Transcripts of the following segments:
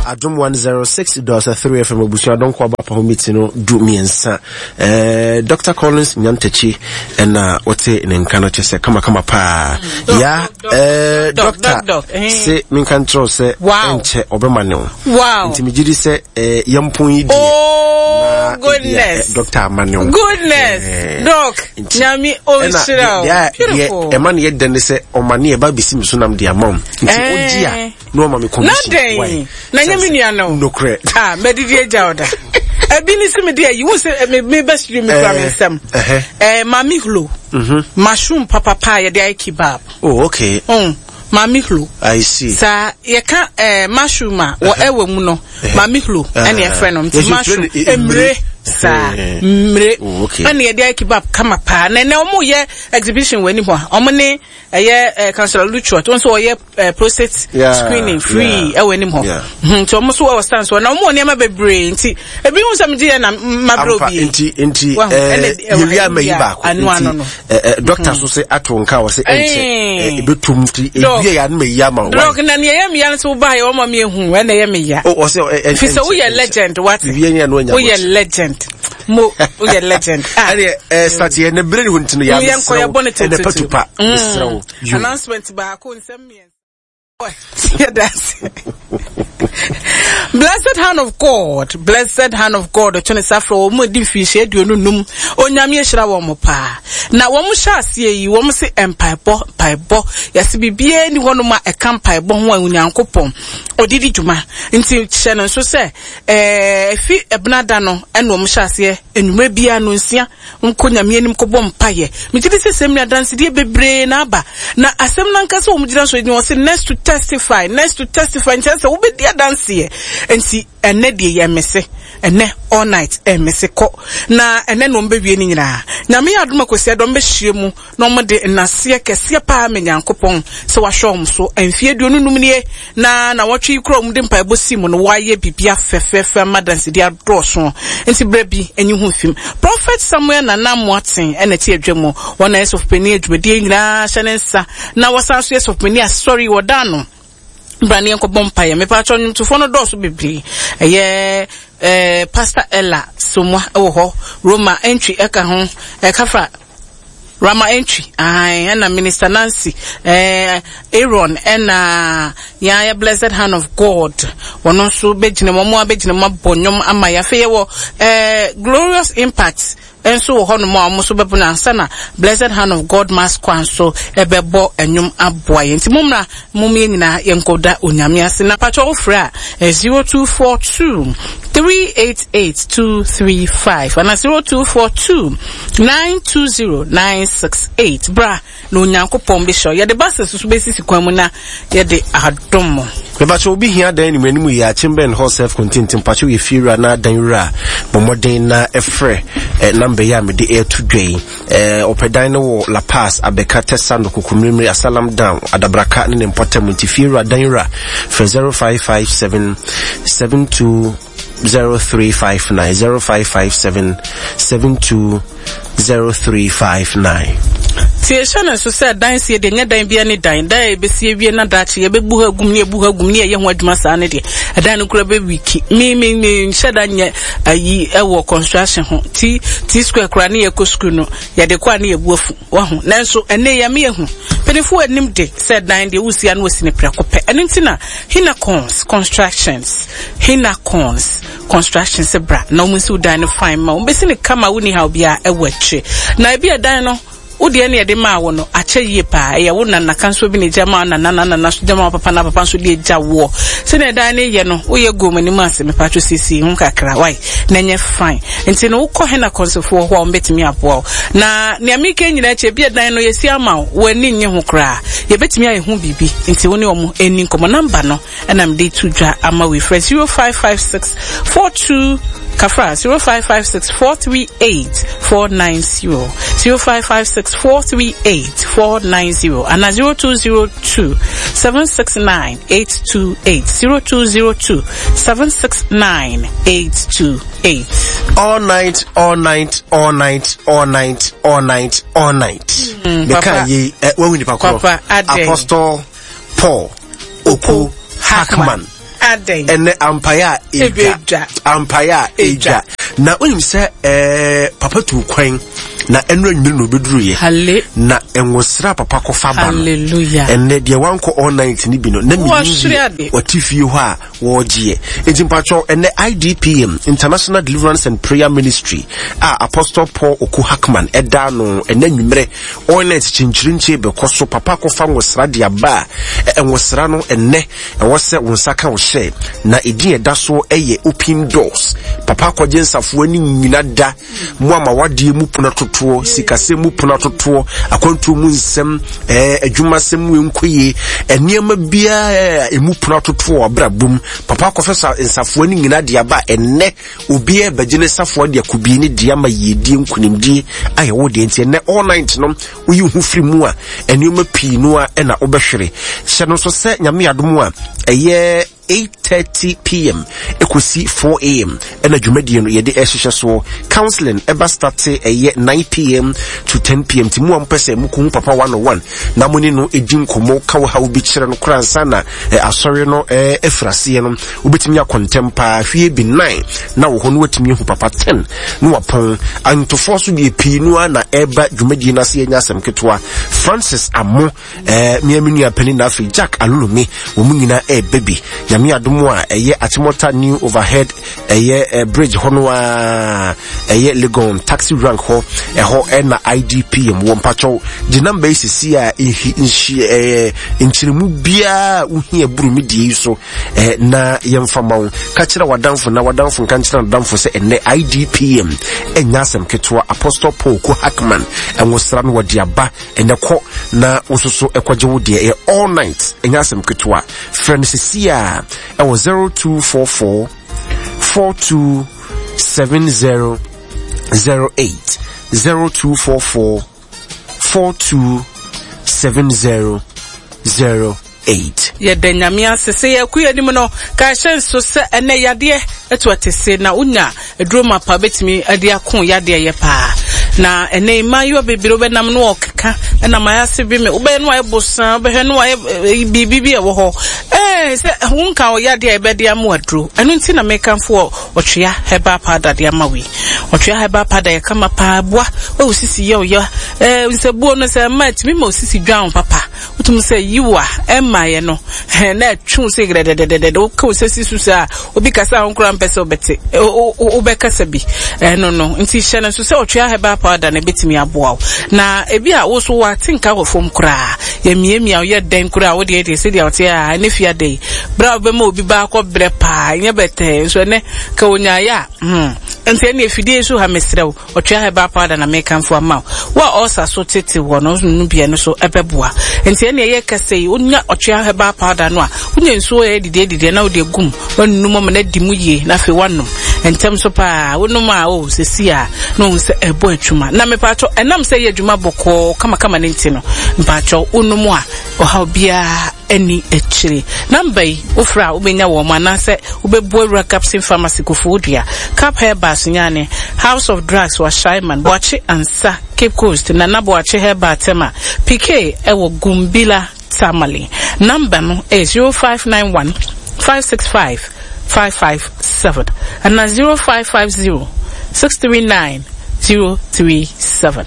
Adom 106.3 FM abusua dɔnkɔ aba pa ho miti no du mmiɛnsa. Eh, Dr. Collins Nyantakyi ɛna wote ne nka no kyɛ sɛ kamakama paa. Mm. Ya, eh, doctor, eh. se menka nkyerɛ sɛ ɛnkyɛ ɔbɛma ne wo. Wow. Nti megye di sɛ eh, yɛmpon yi deɛ. Oh, goodness. Eh, doctor ama ne wo. Goodness. Eh, Doc, nyame ɔnhyira wo. Beautiful. Ɛma ne yɛ dɛ ne sɛ ɔma ne yɛ ba bɛsi me so nam de ama wo. Nti wogye a na ɔma me commission. Na dɛn? Na nyɛ me nua no. Nokorɛ. Ah, mɛdidi agya wo da. Ebi ne sɛ mede ayi, wo sɛ me me bɛ studio me kura me nsam. Eh, maame hlo. Mhm. Mushroom papapa yɛde ayɛ kebab. Oh, okay. Mm. Maame hlo. I see. Saa yɛka eh, mushroom a wɔ ɛwɔ mu no, maame hlo ɛna yɛfrɛ no. Nti mushroom mmire saa mmire. Oh, okay. Ɛna yɛde ayɛ kebab kama paa. Na ɛnɛ wɔn yɛ exhibition wɔ anim hɔ a, wɔn ne ɛyɛ eh, councillor Luchot, wɔn nso wɔyɛ eh, prostate yeah, screening free yeah, ɛwɔ anim hɔ yeah. Hmm, nti wɔn nso wɔ stand so na wɔn wɔ nneɛma bebree nti ebi hu sɛ megye yɛ na mabere obi nti nti ɛɛ yɛwi ama yi baako nti ɛɛ dɔkta so sɛ ato nka wɔ sɛ ɛnkyɛ ebetum nti ebi yɛ anum eyi ama wa dɔk na nea ɛyɛ mi ya nso ba yɛ wɔn ma mi ehu ɛna ɛyɛ mi ya o ɔsɛ ɛ fi sɛ woyɛ legend wate woyɛ legend mo woyɛ legend ah ɛnɛ ɛɛ sateɛ ne bere ne ho nti no yɛ amesrɛw ɛnɛ patupa mesrɛw. Announcement baako nsɛm mmiɛnsa. Yɛda ase. Blessed hand of God, blessed hand of God ɔtwe ne sa frɛ wɔn mu di mfirihyia aduonu num. Onyame ahyira wɔn paa. Na wɔn hyɛ aseɛ yi, wɔn se mpaebɔ, mpaebɔ. Yɛse biribiara ni hɔnom a ɛka mpaebɔ ho a Onyankopɔn ɔde di dwuma. Nti hyɛ no nso sɛ ɛɛ efi ɛbenada no ɛna wɔn hyɛ aseɛ anwummerɛ biara no nsia Nkɔ Nyame anim kɔbɔ mpaeɛ. Megye di sɛ sɛ mmerɛ adansedie bebree na aba. Na asɛm no ankasa wɔn gyina so gyina wɔse next to testify, next to testify nkyerɛ sɛ wobɛdi adanseɛ. Nti ɛnɛ deɛ yɛ mese, ɛnɛ all night ɛmese kɔ. Na ɛnɛ na wɔn bɛwie ne nyinaa. Nyame yɛ adom a Kwasiada wɔn bɛhyia mu na wɔde nnaseɛ kɛseɛ paa ma Nyankopɔn sɛ wahwɛ wɔn so mfeɛ 25 nie, na nawɔtwe yi koraa wɔde mpaebɔ sii mu no wɔayɛ biribia fɛfɛɛfɛ ama adansedie adɔɔso, nti berɛ bi nyi ho mfim. Prophet Samuel Nana Amoateng na ɛte adwa mu, wɔn na ɛyɛ sɔfopanin adwumadie yi nyinaa hyɛ ne nsa, na wɔsan nso yɛ sɔfopanin asɔre yi wɔda ano. Bra ne yɛnkɔbɔ mpaeɛ. Mepatwɔ nnwomtofoɔ no dɔɔso bebree. Ɛyɛ eh, Pastor Ella Somua wɔ hɔ, Roma Entry ɛka ho, ɛkafra Rama Entry, ae, ɛna Minister Nancy, eh, Aaron, ɛna yɛn ayɛ Blessed Hand of God. Wɔn nso bɛgyina mu, wɔn abɛgyina mu abɔ nnwom ama yɛ. Afei yɛwɔ eh, Glorious Impact nso wɔ hɔnom a wɔn nso bɛbɔ no ansa na Blessed Hand of God Mass Choir nso ɛbɛbɔ nnwom aboa yɛn. Nti mommra, mom yɛn nyinaa yɛnkɔda Onyame ase. Na patwɔ wofrɛ a, 0242 388 235 ana 0242 920 968. Bra na Onyankopɔn bɛhyira wo. Yɛde buses nso bɛsisi kwan mu na yɛde adom mo. Mepakyɛ obi hia dan anim anim yi akyem bɛn hɔ self contained nti mpakyɛ yɛ fie wura na dan wura a bɔ mmɔden na ɛfrɛ eh, namba yi a mede ɛreto dwa yi eh, ɔpɛ dan no wɔ La Paz Abɛka Tɛsa no Kokommirimiri Asalam Down Adabraka ne ne mpɔtam nti fie wura dan wura frɛ 0557 72 0359 0557 72 0359. Tie hyɛ no nso sɛ dan sie deɛ nyɛ dan bia ne dan dan a yɛbɛsi awie na daakye yɛbɛbu ha agum ne yɛbu ha agum ne yɛyɛ ho adwuma saa ne deɛ ɛdan no kura bɛwiki me me me nhyɛ da nyɛ ayi ɛwɔ construction ho ti ti square kura ne yɛkɔ sukuu no yɛde kɔ a ne yɛbu afu Wahu? Nanso ɛnnɛ yi ɛma yɛhu. Mpanyinfo anim de sɛ dan deɛ wosi a na wɔsi no prɛko pɛ. Ɛno nti na Hinacons Constructions, Hinacons Constructions bra na wɔn nsi wo dan no fine ma wɔn bɛsi no kama wonni haw biara ɛwɔ akyire. Na ebi a dan no wo deɛ ne yɛde maa wo no akyɛ yie paa ɛyɛ wo nana kanso bi na egya maa nana na nana so gya maa papa na papa nso de egya woɔ sɛnea dan no yɛ no woyɛ gu wɔn anim ase mepatwo siesie ho kakra wae na ɛnyɛ fine nti no wokɔ hena kɔnsofoɔ hɔ a wɔbɛtumi aboa wo na nea meka nyinaa akyi ebi ɛdan no yɛsi ama wo w'ani nnye ho koraa yɛbɛtumi ayɛ ho biribi nti wo ne wɔn ɛni nkɔmmɔ namba no ɛna mede to dwa ama wo frɛ 0556 42 kafra 0556 438 490 0556 438 490 ana 0202 769 828 0202 769 828. All night, all night, all night, all night, all night, all night. Meka yi eh, wahu nipa korɔ. Papa, adɛn? Apostle Paul Oko Hackman. Adɛn? Ɛnɛ ampaeɛ a ɛdwa. Ampaeɛ a ɛdwa. Na wonim sɛ ɛɛ papa tu kwan na ɛno anwumere na ɔbɛduruyɛ. Na nwosra papa kɔfa ba no. Hallelujah. Ɛnɛ deɛ wankɔ all night no bi no na menim deɛ ɔte fie hɔ a wɔregyeɛ. Enti mpakyɛw ɛnɛ IDPM, International Deliverance and Prayer Ministry a Apostle Paul Oku Hackman ɛda ano ɛnɛ anwummerɛ all night kyinkyirinkyie bɛkɔ so. Papa akɔfa nwosra de aba a nwosra no ɛnɛ ɛwɔ sɛ wo nsa ka wo hyɛ na ɛdin ɛda soɔ ɛyɛ Open Doors. Papa akɔgye nsafoa ne nyina da Mo ama wadeɛ mu pono atotoɔ, sikasɛm mu pono atotoɔ, akwantuo mu nsɛm, ɛɛ adwumasɛm mu nkoye, nneɛma biara a emu pono atotoɔ wɔ abrabɔ mu. Papa akɔfɛ sa nsafoa no nyinaa de aba ɛnnɛ. Obiara bɛgye ne safoa de akɔbie ne deɛ ama yiedie, nkunimdie ayɛ wo deɛ. Nti ɛnnɛ all night no, woyi ho firi mu a, nneɛma pii no a ɛna wobɛhwere. Hyɛ no nso sɛ Nyame adom a, ɛyɛ 8:30 pm ɛkɔsi 4 am ɛna dwumadie no yɛde ɛhyehyɛ soɔ. Counseling ɛba starte ɛyɛ 9 pm to 10 pm nti mu a mopɛ sɛ mokɔhu papa one on one na mo ne no ɛdi nkɔmmɔ ka wo haw bi kyerɛ no koraa ansa na asɔre no ɛfiri aseɛ no, wobɛtumi akɔ ntɛm paa hwie bi 9 na wɔ hɔ no watumi ahu papa 10 na wapɔn. Antofoɔ so deɛ pii no ara na ɛba dwumadie no ase ɛnyɛ asɛm ketewa. Francis Amo Eh, me me nua panin na afei Jack Alulumi, wɔn nyinaa ɛɛbɛ bi. Nyame adom a ɛyɛ Achimota New Overhead ɛyɛ eh, bridge hɔ no a ɛyɛ Legon taxi rank hɔ, ɛhɔ ɛna IDPM wɔ. Mpakyɛw gye namba yi sisi a nhi nhyi ɛɛ nkyerɛmu biara wohia buru me die yi so eh, na yɛmfa ma wo. Ka kyerɛ w'adamfo na w'adamfo nka nkyerɛ n'adamfo sɛ ɛnnɛ IDPM ɛnyɛ asɛm ketewa. Apostle Paul Ko Hackman ɛnwosra no wɔde aba Ɛnɛ kɔ na wo nso so ɛkɔgye wo deɛ. Ɛyɛ all night, ɛnyɛ asɛm ketewa. Frɛ no sisi a ɛwɔ 0244 427008, 0244 427008. Yɛda Nyame ase sɛ yɛkɔ yɛn anim no, ka hyɛ nso sɛ ɛnɛ yadeɛ ɛto atese na wonya aduro mapa bɛtumi de ako yadeɛ yɛ paa. Na ɛnɛ yi mmaayewa bebree wobɛnam no ɔkeka ɛna mayɛ ase bi me wobɛyɛ no ayɛ bosan wobɛhwɛ no ayɛ biribi bi ɛwɔ hɔ ɛɛ sɛ wonka wɔ yadeɛ a ɛbɛde ama aduro. Ɛno nti na mekamfo ɔtwea herbal powder de ama wei. Ɔtwea herbal powder yɛ kama paa, boa wɔ osisi yɛ ɔyɛ ɛɛ nsɛbuo no sɛ ɛma ɛtumi ma osisi dwan wo papa. Wotum sɛ yiw a ɛmmaeɛ no, hɛn na ɛtwe wo sɛ grɛdɛdɛdɛdɛ, woka wo sɛ si so saa a, obi kasa a wo koraa mpɛ sɛ wobɛte, wobɛkasa bi. Ɛno no, nti hyɛ no nso sɛ ɔtwea herbal powder no ɛbɛtumi aboa wo. Na ebi a wo so wate nka wɔ fam koraa, yɛmiamia wo yɛ dɛn koraa, wo deɛ deɛ sɛdeɛ wote a, ɛne fie ada yi. Berɛ a wobɛma obi ba akɔ brɛ paa, ɛnyɛ bɛtɛɛ, nso ɛnɛ ka onyaeɛ a, hmm. Nti ɛne afidie so ha mesrɛ wo. Ɔtwea herbal powder na mekamfo ama wo. Wo a ulcer so tete wɔ no no bi ɛno so ɛbɛboa. Nti ɛne ɛyɛ kɛsɛ yi, wonya ɔtwea herbal powder no a, wonya nsuo a ɛyɛ didiɛ didiɛ na wode agu mu, woanunu ama no adi mu yie na afei woanom. Ntɛm so paa, wonom a oh sɛsi a na wohu sɛ ɛbɔ adwuma. Na mepatwɔ ɛnam sɛ ɛyɛ adwuma bɔkɔɔ kamakama no nti no, mpatwɔ wonom a ɔhaw biara nni akyire. Number yi, wofrɛ a wobɛnya wɔn anaasɛ wobɛbu awura Gapson Pharmacy, Koforidua, Cap Herbal, Sunyani, House of Drugs wɔ Ashaiman, Boakye Ansa, Cape Coast, Nana Boakye Herbal Tema, PK ɛwɔ Gumbila, Tamale. Number no ɛyɛ 0591 565 557 anaa 0550 639 037.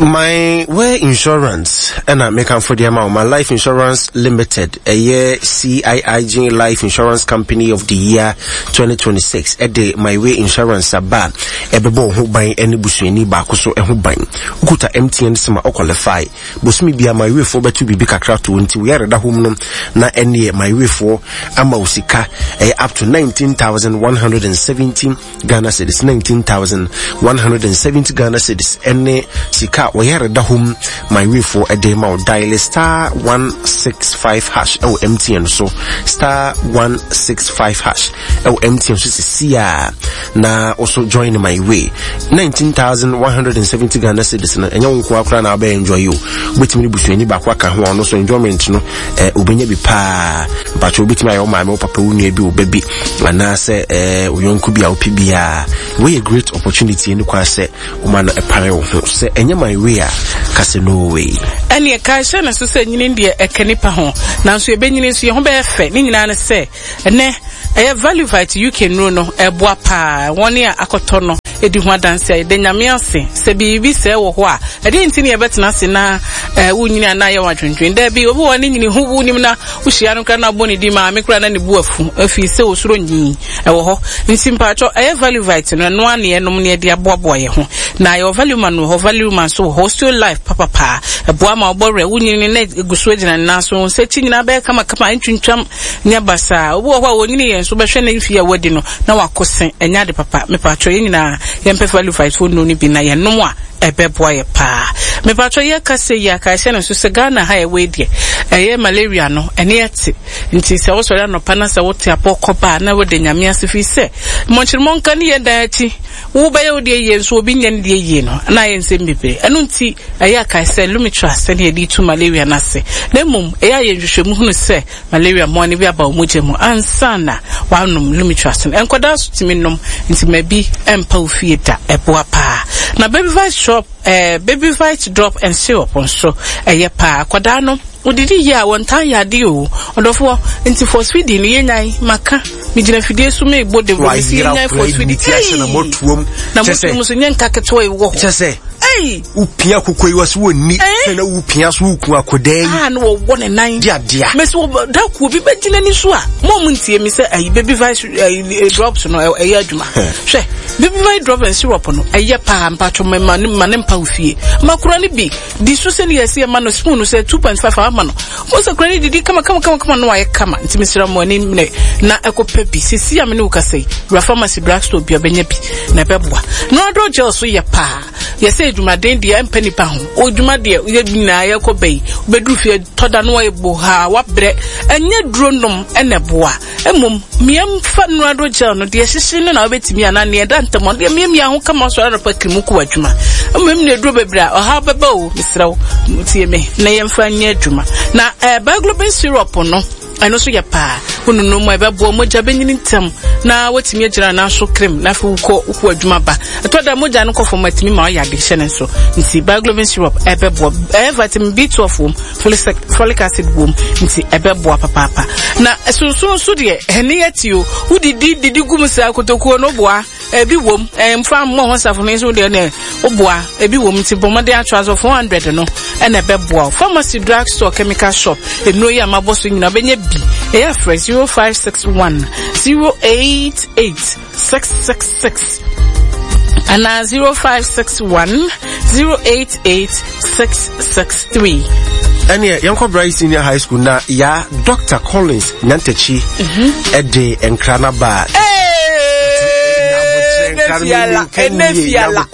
My Way Insurance ɛna mekamfo de ama wo. My Life Insurance Limited ɛyɛ CIIG Life Insurance Company of the Year 2026 ɛde My Way Insurance aba a ɛbɛbɔ wo ho ban ɛne busuani baako so ɛho ban. Wokuta MTN SIM a ɔqualify. Bosome bia My Way foɔ bɛto biribi kakra to nti wo yare da hɔ mu no na ɛneɛ My Way foɔ ama wo sika ɛyɛ up to 19,170 Ghana cedis, 19,170 Ghana cedis ɛne sika a wɔyɛ reda hɔ mu my wayfoɔ ɛde ma wo. Dial star 165 hash ɛwɔ MTN so, star 165 hash ɛwɔ MTN so sisi a na also join my way. 19,170 Ghana cedis no ɛnyɛ wo nko akora na wobɛ enjoy o, wobɛtumi ne busuani baako aka ho a ɔno so enjoyment no eh, wobɛnya bi paa. Mpakyɛ wobɛtumi ayɛ wo maame, wo papa, wo nua bi, wo ba bi anaasɛ eh, wo yɔnko bi a wopɛ biara. Wei yɛ great opportunity ne kwan sɛ woma no ɛpare wo ho. Sɛ ɛnyɛ my way a, ka sɛ no way. Ɛneɛ kae hyɛ no so sɛ nyini deɛ ɛka nipa ho, nanso yɛbɛnyini nso yɛn ho bɛyɛ fɛ. Ne nyinaa ne sɛ ɛnɛ Ɛyɛ Value Vite UK nnuro no, ɛboa paa. Wɔn a akɔtɔ no di ho adanse a yɛda Nyame ase. Sɛ biribi sɛɛ wɔ hɔ a, ɛdeɛn nti na yɛbɛtena ase na eh, wonyini anaa yɛ wadwendwen? Daabi, obi wɔ hɔ ne nyini ho wonim na wohyia no koraa na abɔ ne din maame koraa na ne bu afu afii sɛ osuro nyi ɛwɔ hɔ. Nti mpaatwɔ ɛyɛ Value Vite no, ɛno ara na yɛnom na yɛde aboaboa yɛn ho. Na yɛwɔ Value Man wɔ hɔ, Value Man nso wɔ hɔ, Osteo Life papapaa. Ɛboa ma ɔbɔ werɛ, wonyini na egu so gyina ne nan so, wo nsa akyi nyinaa bɛyɛ kamakama, ɛntwintwam. Nyɛ basaa. Obi wɔ hɔ a ɔnyini yɛn so bɛhwɛ ne mfeɛ a wadi no na wako se. Ɛnyɛ ade papa. Mepakyɛw yɛn nyinaa yɛmpɛ value fight foɔ nnuro no bi na yɛnom a ɛbɛboa yɛ paa. Mepakyɛw yɛka sei yi a kae hyɛ no nso sɛ Ghana ha yɛwɔ yi deɛ ɛyɛ malaria no ɛne ɛte. Nti sɛ wosɔre anɔpa na sɛ wote apɔ kɔ ba a na woda Nyame ase firi sɛ mmɔnkyeremɔnka ne yɛn dan akyi. Wobɛyɛ wo deɛ yie nso obi nyɛ ne deɛ yie no na ayɛ nsɛm bebree. Ɛno nti ɛyɛ a kae sɛ Lumitrust sɛdeɛ yɛde tu malaria no ase. Na mmom ɛyɛ a yɛ nhwehwɛmu hunu sɛ Malaria mmoa no bi aba wo mogya mu ansa na woanom Lumitrust no. Nkwadaa nso tumi nom, nti ma bi mpa wo fie da. Ɛboa paa. Na Babyvite shop, eh, Babyvite drop and syrup nso, ɛyɛ paa. Akwadaa no, odidi yie a, wɔntaa yɛ adeɛ o. Ɔdɔfoɔ, nti force feeding no yɛnyae. Maka, megyina fidie so merebɔ dawuro, mese yɛnyae force feeding. Ei! Na motuom nso nyɛ nka ketewa yi wɔ hɔ. Kyɛ sɛ. Ei! Wopia koko yi wɔsi wɔn ni. Sɛ na wopia so woku akɔdaa yi. Ah, na wɔwɔ ne nan. Di adea. Mesi wɔ da kuo bi bɛgyina ni so a. Mo a mo ntie mi sɛ ayi baby vice ayi drops no ɛyɛ adwuma. Hwɛ baby vice drop and syrup no ɛyɛ paa mpatwɔ ma ma ne ma ne mpa ofie. Ma kura ne bi di so sɛ ne yɛsi ɛma no spoon no sɛ 2.5 ama no. Mo sɛ kura ne didi kama kama kama kama no ayɛ kama. Nti mesrɛ mo ani mene na ɛkɔ pɛ bi. Sisi a me ne wo kasa yi wura pharmacy drugstore bi ɔbɛnya bi na ɛbɛboa. Noradol gel so yɛ paa. Yɛsɛ adwumaden deɛ ɛmpɛ nipa ho. Odwuma deɛ yɛ nyinaa yɛkɔ bɛyi. Wobɛduru fie tɔda no ayɛ bohaa wabrɛ. Ɛnyɛ duro nom ɛna ɛboa. Mmom mmiɛmfa nnurado gel no deɛ hyehye no na wobɛtumi anaa neɛ ɛda ntam deɛ mmiamia ho kama sɔrɔ anɔpa kiri mu kɔ w'adwuma. Mmom na aduro bebree a ɔhaw bɛba o mesrɛ wo tie me na yɛmfa nyɛ adwuma. Na eh, Biglobin syrup no Ɛno nso yɛ paa. Wonunu mu a ɛbɛboa mogya bɛnyini ntɛm na watumi agyina nan so krem na afei wokɔ wokɔ adwuma ba. Ɛtɔ da mogya no kɔ fam atumi ma ɔyɛ ade hyɛ ne nso. Nti Bioglobin syrup ɛbɛboa. Ɛyɛ vitamin B12 wom, folic acid wom nti ɛbɛboa papaapa. Na sunsun nso deɛ ɛne yɛ te o. Wodidi didi gu mu saa kotokuo no boa. Ebi wom, mfa mmɔ ho safo no nso deɛ ne woboa. Ebi wom nti bɔ mmɔden atoa so 400 no ɛna ɛbɛboa wo. Pharmacy, drug store, chemical shop, nnuro yi a mabɔ so nyinaa wobɛnya bi. Ɛyɛ afrɛ 0561 088 666 anaa 0561 088 663. Ɛneɛ yɛnkɔ Bright Senior High School na ya Dr. Collins Nyantakyi ɛde nkra no ba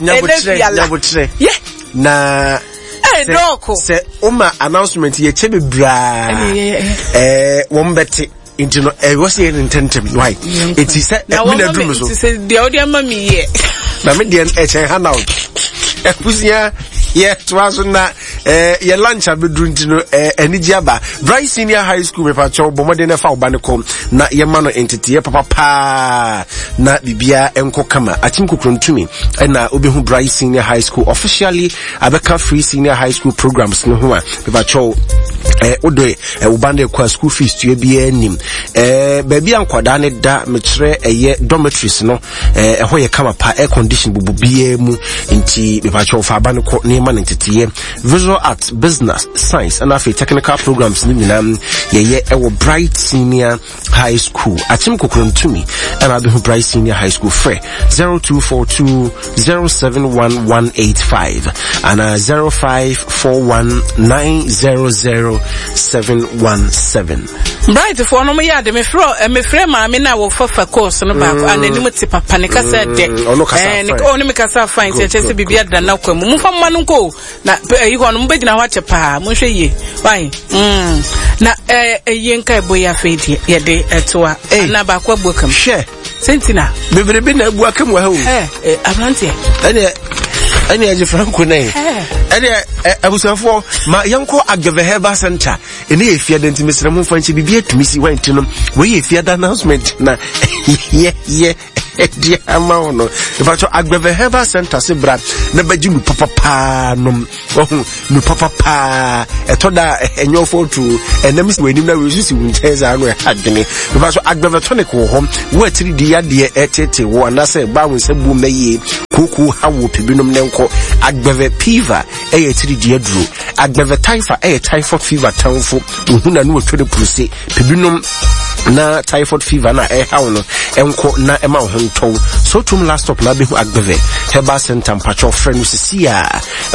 nyabotrɛ na sɛ woma announcement yɛkyɛ bebraa wɔn bɛte nti no ɛwɔ sɛ yɛ ne ntɛntɛm why eti sɛ mi na duru mi so. sɛ deɛ ɔde ama mi yɛ. na mi deɛ ɛkyɛn handout ɛkusua yɛ toa so na ɛɛ yɛ lunch abɛduru nti no ɛɛ anigye aba Bright Senior High School mepakyɛw bɔ mmɔden na ɛfa ɔba ne kɔ na yɛma no nteteɛ papa paa na biribiara nkɔ kama akyem kokorontumi ɛna wobɛhu Bright Senior High School officially abɛka free senior high school programs no ho a mepakyɛw eh, wode eh, wo ba no kɔ a school fees tua biara nim eh, baabi a nkwadaa no da mekyerɛ ɛyɛ dormitories no eh, ɛhɔ yɛ kama pa air condition bubu biara mu nti mepakyɛw fa aba no kɔ nneɛma no nteteeɛ visual arts business science ɛna afei technical programs no nyinaa yɛyɛ ɛwɔ bright senior High School. Akyem Kokoromtumi ɛna abɛhu Bright Senior High School frɛ 0242 071185 ana 0541 900 717. Bright foɔ no yɛ ade mefrɛ eh, mefrɛ maame no a wɔfa fa course no baako a n'anim te papa ne kasa dɛ mm, ɔno kasa eh, fine ɔno me kasa fine sɛ kyerɛ sɛ biribi ada no akwa mu momfa mma no nkɔ o Na ɛyi hɔ no mobɛgyina hɔ akyɛ paa monhwɛ yie wai mm. Na ɛyie nka ɛbɔ yi afei deɛ yɛde ɛtoa ana baako abu akam hwɛ sɛnti na bebrebe na abu akam wɔ ha o ɛ aberanteɛ ɛneɛ ɛne ɛgye franco nɛ ɛneɛ abusuafoɔ ma yɛnkɔ agɛvɛ herbal center ɛne yɛ fiada nti mesrɛ mo mfa nkyɛ biribi atumi si wanti no wei yɛ fiada announcement na yɛ yɛ. ɛde ama wo no. Mepakyɛw, Agbeve Herbal Center se bra na bɛgye nu papapaa nom. Wahu nu papapaa. Ɛtɔ da a ɛnyɛ ɔfɔ tuo. Ɛnam si w'anim na wei si wo nkyɛn saa no ɛha adwene. Mepakyɛw, Agbeve tonic wɔ hɔ. Wo atiri di yadeɛ ɛtete wo anaasɛ ɛba wo nsa buom na yie. Kooko ha wo pɛ binom ne nkɔ. Agbeve Piva ɛyɛ atiri di aduro. Agbeve Typha ɛyɛ typhoid fever tamfo. Ohun na no otwa ne puruse. Pɛ binom na typhoid fever na ɛhaw no ɛnkɔ na ɛma wo ho ntɔw. Sotum last stop na abɛhu Agbeve Herbal Center. Mpakyɛw frɛ no sisi a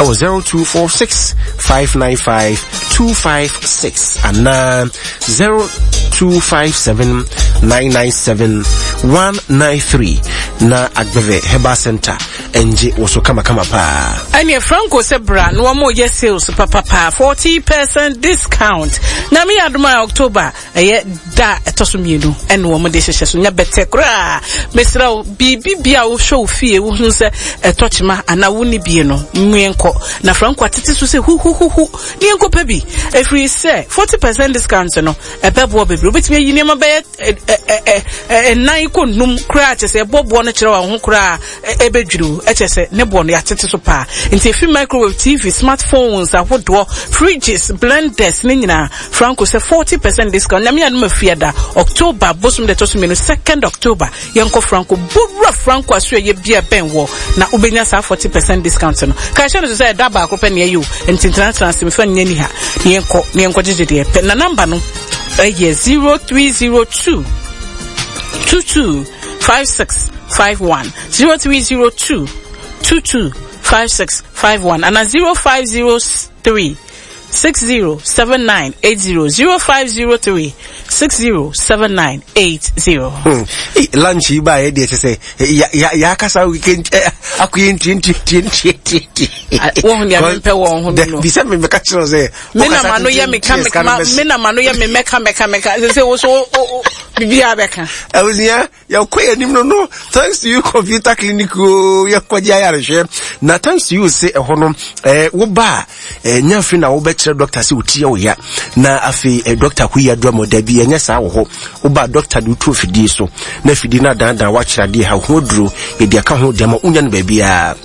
ɛwɔ 0246 595 256 anaa 0257 997 193 na Agbeve Herbal Center ɛngye wɔ so kamakama paa. Ɛneɛ Franco sɛ bra na wɔn yɛ sales papapa 40% discount. Nyame yɛ adom a October ɛyɛ da a ɛtɔ so mmienu ɛna wɔn de hyehyɛ so nyɛ bɛtɛ koraa. Mesrɛ wo biribi bi a wohwɛ wo fie wohu sɛ ɛtɔ kyema anaa wonni bie no mmue nkɔ na Franco atete so sɛ huhuhuhu ne yɛnkɔ pɛ bi ɛfiri sɛ 40% discount no ɛbɛboa bebree. Wobɛtumi ayi nneɛma bɛyɛ ɛnan kɔ nnum koraa kyɛ sɛ ɛbɔ boɔ no kyerɛ wɔn ho koraa ɛbɛdwiriw ɛkyɛ sɛ ne boɔ no yɛatete so paa. Nti efi microwave, TV, smartphones ahodoɔ, fridges, blenders ne nyinaa Franco sɛ 40% discount. Nyame adom afiada October bosom de ɛtɔ so mmienu 2nd October yɛnkɔ Franco bowura Franco aso ɛyɛ bia bɛn wɔ na wobɛnya saa 40% discount no. Ka hyɛ no so sɛ ɛda baako pɛ na ɛyɛ o, nti ntenatena ase mfa nyɛ ni ha na yɛnkɔ na yɛnkɔ gyegye deɛ pɛ. Na namba no ɛyɛ 0302 22 5651 0302 22 5651 ana 0503 607980 0503 607980. Hmm. Lunch yi ba yɛ deɛ kyɛ sɛ yɛakasa akɔyɛ ntiantiantiantianti. Wohu deɛ mempɛ wɔn ho no. Bisɛ me mɛka kyerɛ sɛ. Me na ma no yɛ meka meka me na ma no yɛ me mɛka mɛka mɛka sɛ sɛ wo so biribiara bɛka. Abusua yɛkɔ yɛn anim no no thanks to you computer clinic o yɛkɔgye ayarehwɛ na thanks to you se ɛhɔ no ɛɛ woba a ɛɛ nya afei na wobɛkyerɛ doctor sɛ wotia wo ya na afei ɛɛ doctor ko yi adura mu dabi ɛnyɛ saa wɔ hɔ woba doctor de wotu afidie so na afidie no adandan wakyerɛ adeɛ ha ho aduro yɛde aka ho deɛ ma wonya no baabiara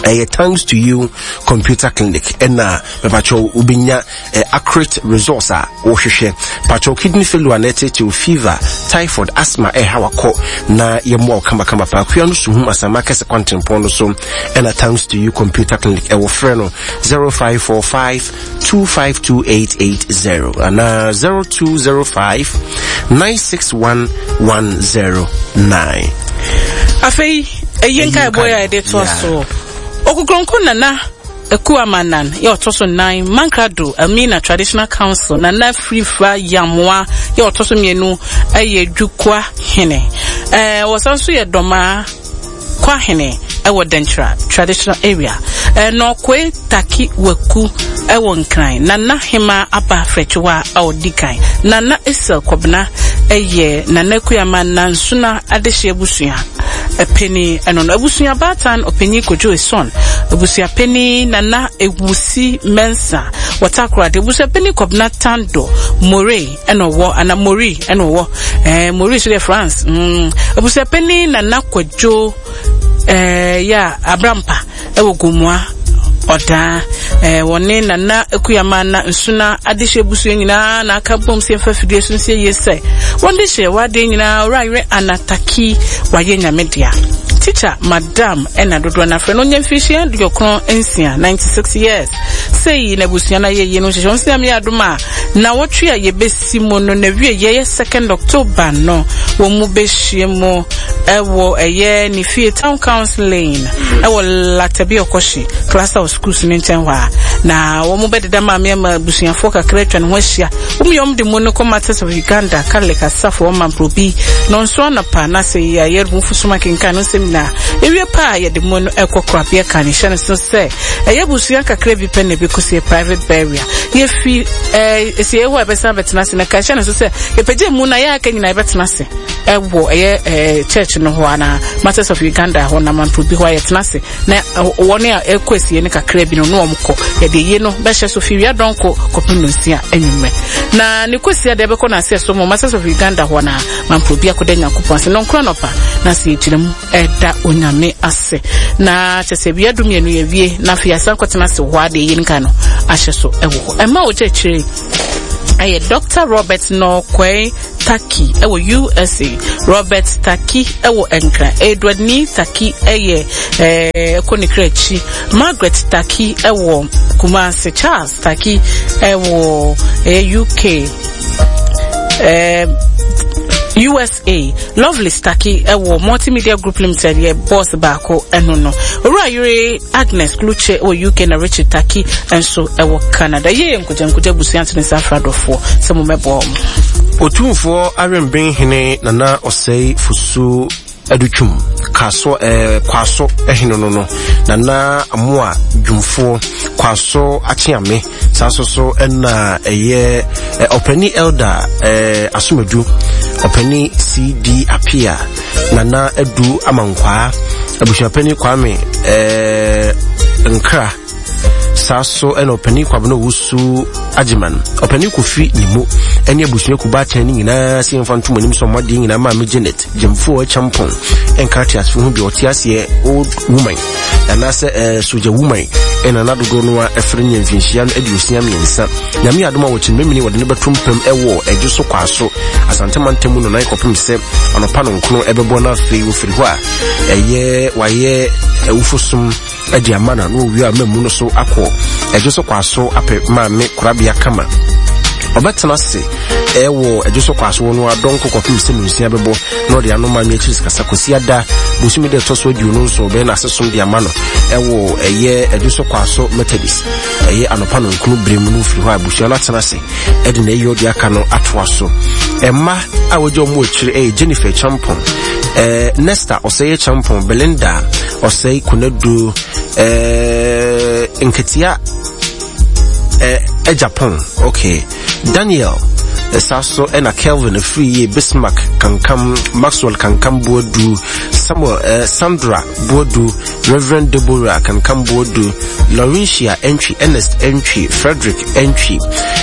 ɛyɛ thanks to you computer clinic ɛna mɛpakyɛw wobɛnya eh, accurate results a wohwehwɛ. Patrol kidney failure na ɛtetew fever, typhoid, asthma ɛha wakɔ na yɛmmoa wo kamakama paa. Kua no suhum asama kɛse kwantempɔn no so ɛna thanks to you computer clinic ɛwɔ frɛ no 0545 252880 anaa 0205 961 109. Afei, ɛyɛ nkaebɔ yɛ a yɛde toa so. Okukronko Nana Akuamanan yɛ ɔtɔ so nnan, Mankrado, Elmina Traditional Council, Nana Frifra Yamoa yɛ ɔtɔ so mmienu yɛ Dwukwa hene. Ɛɛ wɔsan nso yɛ Dɔmaa Kwa hene wɔ Denkyira Traditional Area. Ɛɛ Nɔkoe Taki Waku wɔ Nkran, Nana Hemaa Aba Frɛkyewa a ɔdi kan, Nana Esel Kɔbena yɛ Nana Akuama Nansuna Adehye abusua. Panin ɛno no. Abusua baatan ɔpanyin Kojo Eson, abusua panin Nana Ewusi Mensah wɔ Takoradi, abusua panin Kɔbena Tando More ɛna ɔwɔ ana Mori ɛna ɔwɔ ɛɛ Mori so deɛ France. Abusua panin Nana Kwadwo ɛɛ yɛ Abrampa ɛwɔ Gomoa ɔdaa ɛɛ wɔne Nana Akuyama na Nsuna adehye abusua nyinaa na aka bom sɛ mfa fidie so nsie yie sɛ wɔn de hyɛ w'adeɛ nyinaa owura yere Anataki wayɛ nyame dea. Teacher Madam ɛna dodoɔ no afrɛ no ɔnya mfirihyia 96, 96 years. Sei na abusua no ayɛ yie no nhyehyɛ wɔn sɛ nyame yɛ adom a na wɔtwe a yɛbɛsi mu no na wie yɛyɛ 2nd October no wɔn mu bɛhyia mu ɛwɔ ɛyɛ ne fie Town Council Lane ɛwɔ Latabi Ɔkɔhye Cluster of Schools no nkyɛn hɔ a na wɔn bɛdeda maame ama abusuafoɔ kakra atwa ne ho ahyia. Wɔn yɛ wɔn de mu no kɔ Martyrs of Uganda Catholic asafo wɔn mamprobi na nso anɔpa na sɛ yɛayɛ mu fusum akenkan no nsɛm nyinaa ewie paa yɛde mu no ɛkɔ korabea kan hyɛ no so sɛ ɛyɛ abusua kakra bi pɛ na ɛbɛkɔsi private burial. Yɛfi ɛɛ esi ɛhɔ a ɛbɛsan bɛtena ase na ka hyɛ no so sɛ yɛpɛgye mu na yɛ aka nyinaa yɛbɛtena ase ɛwɔ ɛyɛ ɛɛ church no hɔ anaa Martyrs of Uganda hɔ na mamprobi hɔ a yɛtena ase na wɔn a ɛkɔ esie no kakra bi no na wɔn kɔ yɛde yie no bɛhyɛ so fi wia dɔnko kɔpem nonsia anwummerɛ na ne kɔsia deɛ ɛbɛkɔ n'ase ɛso mo Martyrs of Uganda hɔ na mamprobi. yɛakɔda Nyankopɔn ase. Nɔnkoro anɔpa na sɛ yɛgyina mu ɛda Onyame ase. Na kyɛ sɛ wia dumienu yɛwie na afei yɛasan kɔtena ase wɔ hɔ a deɛ yɛn nka no ahyɛ so ɛwɔ hɔ. Ɛma ogya akyire ɛyɛ Dr. Robert Nɔkwɛn Taki ɛwɔ USA, Robert Taki ɛwɔ Nkran, Edward Ni Taki ɛyɛ ɛɛ ɛkɔ ne kra akyi, Margaret Taki ɛwɔ Kumasi, Charles Taki ɛwɔ ɛyɛ UK, ɛɛ USA, Lovely Taki ɛwɔ Multimedia Group Limited yɛ boss baako ɛno no. Owura yere Agnes Kluche wɔ UK na Richard Taki nso wɔ Canada. Yie nkogya nkogya abusua nto ne nsa afra dɔfoɔ sɛ mo mɛboa wɔn. Otumfoɔ Awɛnben Hene Nana Ɔsɛe Fosu Adutwum Kaso eh, Kwaso Hene no no Nana Amoa Dwumfoɔ Kwaso Akyeame saa nso so ɛna ɛyɛ ɔpani Elder eh, Asomadu ɔpani CD Apia Nana Adu Amankwaa, Abusuapanin Kwame eh, Nkra, saa so ɛna ɔpanin Kwabena Owusu Agyeman, ɔpanin Kofi Nimo, ɛne abusua kubaatan no nyinaa sɛ yɛmfa ntom anim sɛ ɔmo adeɛ nyinaa maame Janet Gyamfoɔ Kyampɔn ɛnka ateasefo ho bi ɔte aseɛ old woman anaasɛ ɛɛ eh, soja woman ɛna na dodoɔ no a ɛfrɛ nyɛ mfinhyia no 63. Nyame adom a wɔkyene memene wɔde no bɛto mpam ɛwɔ ɛdwo so kwaa so Asante mantam mu no nan kɔpem sɛ anɔpa no nkono ɛbɛbɔ no afei wɔfiri hɔ a ɛyɛ wayɛ awufosom de ama no na wɔwie a mamu no so akɔ ɛdwo so kwaa so apɛ maame korabea kama ɔbɛtena ase ɛwɔ ɛdwo so kwaa so no adɔnko kɔpem sɛ nonsia bɛbɔ na ɔde ano maame akyiri sikasa kɔsi ada bosome dɛ ɛtɔ so 27 bɛyɛ n'asesom de ama no ɛwɔ ɛyɛ ɛdwo so kwaa so Methodist ɛyɛ anɔpa nɔnkono berɛ mu no firi hɔ a abusua no atena ase ɛde na ɛyɛ ɔde aka no atoa so. Ɛma a wɔgya wɔn akyire ɛyɛ Jennifer Champon, ɛɛ Nesta Ɔsɛe Champon, Belinda Ɔsɛe Konadu, ɛɛ Nketea ɛɛ Japan, okay, Daniel ɛsa so ɛna Kelvin afiri yie Bismarck Kankam, Maxwell Kankam Boadu, Samuel ɛɛ Sandra Boadu, Rev. Deborah Kankam Boadu, Laurentia Antwi, Ernest Antwi, Frederick Antwi,